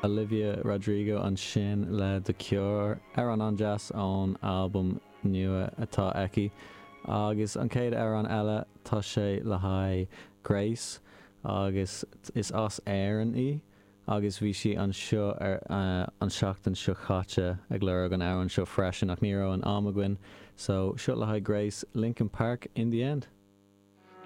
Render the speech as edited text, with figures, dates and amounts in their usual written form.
Olivia Rodrigo ansin le The Cure, amhrán an-deas ón albam nua atá aici. Agus an chéad amhrán eile, tá sé le haghaidh Grace agus is as Éirinn í agus bhí sí anseo ar an seachtain seo chaite ag lorg an amhrán seo freisin ach ní raibh an am againn. So, seo le haghaidh Grace, Linkin Park, In The End.